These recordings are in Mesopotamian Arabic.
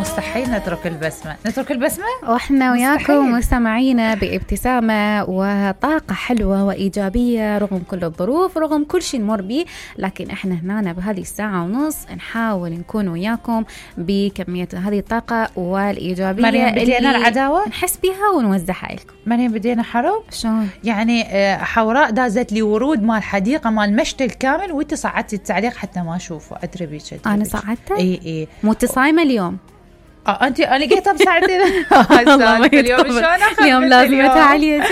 مستحيل نترك البسمة، نترك البسمة واحنا وياكم مستمعينا بابتسامة وطاقة حلوة وإيجابية رغم كل الظروف، رغم كل شيء نمر به، لكن احنا هنا بهذه الساعة ونص نحاول نكون وياكم بكمية هذه الطاقة والإيجابية مريم بدينا العداوة نحس بها ونوزعها لكم. مريم بدينا حرب شلون؟ يعني حوراء دازت لي ورود مال حديقة مال مشتى الكامل وانت صعدتي التعليق حتى ما اشوفه. ادري بيك انا صعدته؟ اي مو صايمة اليوم. انت انا لقيتها بساعتين اليوم لازم اتعالي.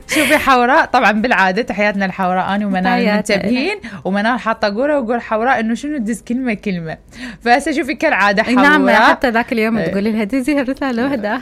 شوفي حوراء طبعا بالعاده تحياتنا الحوراء انا ومنال منتبهين، ومنال حاطه قوره وقول حوراء انه شنو تدز كلمه فهسه شوفي كالعاده حوراء. نعم حتى ذاك اليوم تقولي لها دزي الرساله واحده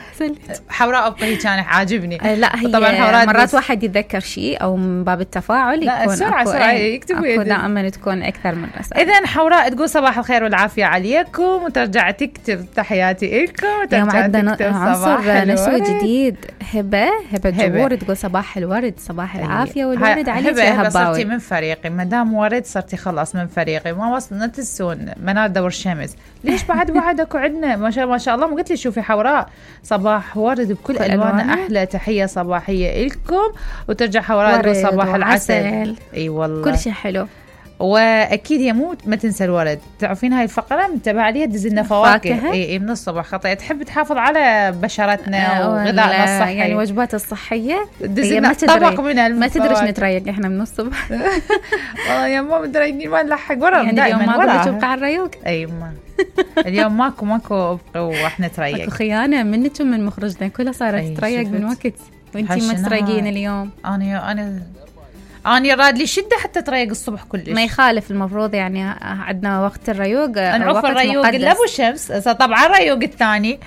حوراء ابقي كان عاجبني. لا هي طبعا حوراء مرات واحد يتذكر شيء او من باب التفاعل يكون سرعه يكتبوا دائما تكون اكثر من رساله. اذا حوراء تقول صباح الخير والعافيه عليكم وترجع تكتب تحياتي لكم. اليوم عندنا عنصر نسوي جديد. هبة جبور تقول صباح الورد صباح العافية والورد عليك يا هباوي. صرتي من فريقي مدام ورد، صرتي خلاص من فريقي. ما وصلنا تنسون منال دور شمس ليش بعد اكو عندنا ما شاء الله. ما قلت لي شوفي حوراء صباح ورد بكل الوانه. احلى تحية صباحية لكم وترجع حوراء تقول صباح العسل. اي والله كل شيء حلو. واكيد هي ما تنسى الورد. تعرفين هاي الفقره متابعه عليها تدز لنا فواكه اي من الصبح خطيه. تحب تحافظ على بشرتنا وغذائنا الصحي يعني وجبات الصحيه تدز لنا طبق من ما تدريش نتريق احنا من الصبح. والله يا ماما متريقين ما نلحق ورا يعني اليوم ما تبقى على الريوق. اي ما اليوم ماكو واحنا نتريق. اكو خيانه منك ومن مخرجنا كلها صارت تتريق من وقت وانتي ما تريقين اليوم. أنا راد لي شدة حتى تريق الصبح كلش. ما يخالف المفروض يعني عندنا وقت الريوق نعوف الريوق اللي أبو شمس طبعا الريوق الثاني.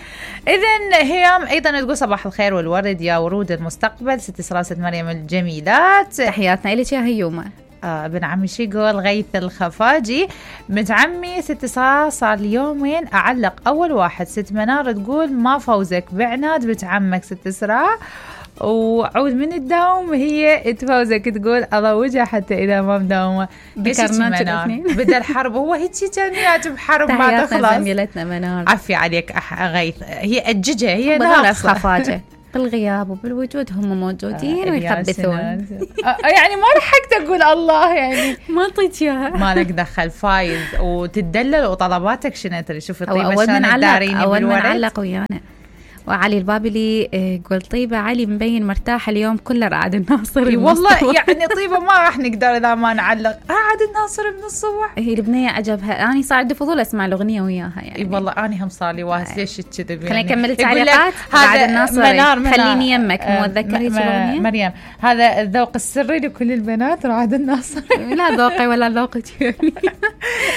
إذن هيام أيضا تقول صباح الخير والورد يا ورود المستقبل. ست سلاسة مريم الجميلات تحياتنا إليك يا هيومة. ابن عمي شي يقول غيث الخفاجي بنت عمي 6 صار لي يومين أعلق أول واحد. ست منار تقول ما فوزك بعناد بنت عمك 6 سراع وعود من الدوام هي تفوزك تقول الله وجه حتى إذا ما مداومة. ذكرنا الاثنين بدأ الحرب هو هيك جميعات بحرب ما تخلص. زميلتنا منار عفي عليك غيث هي أججة هي ناقصة خفاجة بالغياب وبالوجود هم موجودين ويخبثون. يعني ما لحقت أقول الله يعني ما أعطيك إياها ما لك دخل فايز وتدلل وطلباتك شنو ترى. شوفي طيبة شلون الداريني أول من علق ويانا. وعلي البابلي يقول طيبة علي مبين مرتاح اليوم كله رعد الناصر. والله يعني طيبة ما راح نقدر إذا ما نعلق رعد الناصر من الصبح. هي البنية عجبها. أنا صار فضول أسمع الأغنية وياها يعني. والله أنا هم صار لي واهس ليش كذا. خليني أكمل التعليقات. رعد الناصر خليني يمك مو أتذكر هيك الأغنية. مريم هذا الذوق السري لكل البنات رعد الناصر. لا ذوقي ولا ذوقك يعني.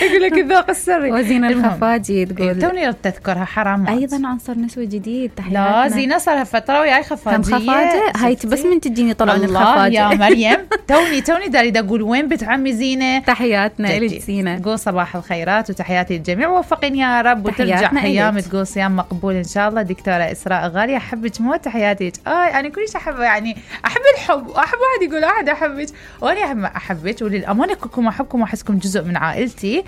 يقول لك الذوق السري. وزينة الخفاجي تقول توني تذكرها حرام. أيضا عنصر نسوي جديد. لا زينة صار فترة وياي خفاجية. هاي بس من تجيني طلعون الخفاجة يا مريم. توني داري أقول وين بنت عمي زينة. تحياتنا إلك زينة. تقول صباح الخيرات وتحياتي للجميع ووفقين يا رب. وترجع أيام تقول صيام مقبول إن شاء الله. دكتورة إسراء غالية أحبك موت تحياتي. أنا كلش أحب يعني أحب الحب وأحب واحد يقول أحد أحبك وأنا أحبك وللأمانة كلكم أحبكم وأحسكم جزء من عائلتي.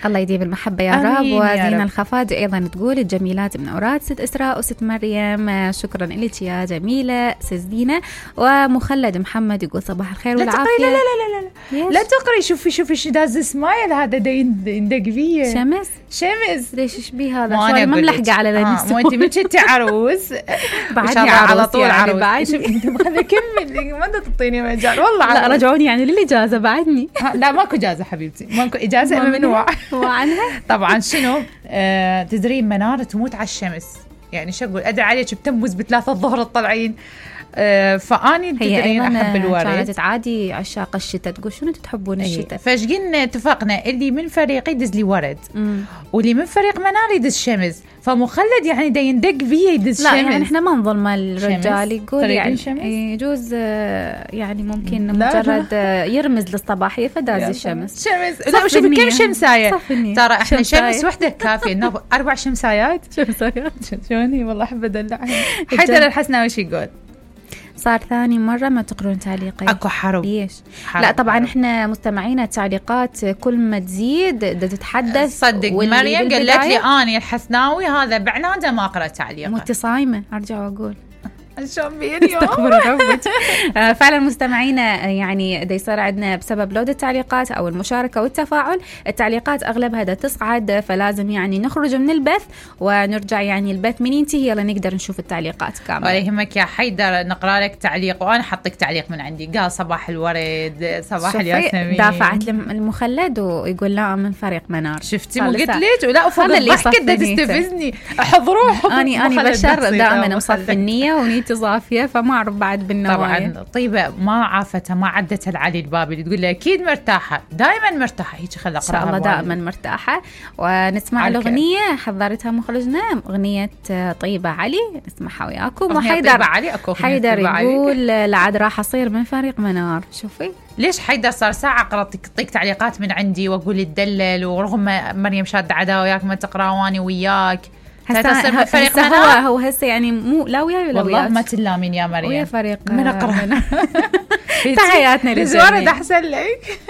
الله يديم المحبة يا رب. وزينة الخفاجة أيضا تقول الجميلات من أوراد ست إسراء وست مريم. شكرا لك يا جميلة سزدينة. ومخلد محمد يقول صباح الخير والعافية. لا لا لا لا لا لا تقري. شوفي شو داز سمايل هذا يندق فيه شمس. ليش شبيه هذا شوي ما ملحقة على ذا مو انت من انت عروس بعدني على طول يعني عروس. انت هذا كمل ما تعطيني مجال والله. لا رجعوني يعني للإجازة بعدني. لا ماكو إجازة حبيبتي ماكو إجازة ممنوع. وعنها طبعا شنو تدرين منار تموت على الشمس يعني شو أقول أدعي عليك بتموز ب3 الظهر تطلعين. فاني تدرين احب الورد. كانت عادي عشاق الشتاء تقول شنو تحبون الشتاء. فشقين اتفقنا اللي من فريقي يدز لي ورد واللي من فريق منار يدز شمس. فمخلد يعني دا يندق فيه يدز شمس. لا يعني احنا ما نظلم الرجال يقول يعني يجوز يعني ممكن مجرد يرمز للصباحيه فداز الشمس. لا شوفي كم شمسايه ترى احنا شمس وحده كافيه. 4 شمسايات. شمسايات شلوني والله احب ادلعها. حيدر الحسناوي شو يقول صار ثاني مرة ما تقرون تعليقين. اكو حرب. ليش؟ لا طبعا احنا مستمعينا التعليقات كل ما تزيد تتحدث. صدق مريم قالت لي اني الحسناوي هذا بعناده ما اقرا تعليقه. مت صايمة ارجع واقول شلون بي اليوم. استغفر ربك. فعلا مستمعينا يعني دا يصير عندنا بسبب لود التعليقات او المشاركه والتفاعل، التعليقات اغلبها دا تصعد، فلازم يعني نخرج من البث ونرجع يعني البث من ينتهي يلا نقدر نشوف التعليقات كامله. ولا يهمك يا حيدر، نقرا لك تعليق وانا حطك تعليق من عندي. قال صباح الورد صباح الياسمين. دافعت المخلد ويقول لا من فريق منار. شفتي مو قلت لك؟ ولا افضل الضحكه دا تستفزني. احضروه. اني بشر دائما مصفي النيه ونيتي صافيه، فما اعرف بعد بالنوايا. طبعا طيبه ما عافتها ما عدتها لعلي البابلي تقول لها اكيد مرتاحه، دائما مرتاحه هيك. خلي اقراها ان شاء الله دائما مرتاحه. ونسمع الاغنيه حضرتها مخرجنا، اغنيه طيبه علي، نسمعها وياكم. وحيدر علي اكو حيدر يقول لعد راح اصير من فريق منار. شوفي ليش حيدر صار ساعه اقرا طيق تعليقات من عندي واقول تدلل، ورغم مريم شاده عداوه وياك ما تقرا واني وياك. هسه هو هسه يعني مو لا وياي ولا والله ما تلامين يا مريم ويا فريق من اقرا. تحياتنا للجميع. احسن لك.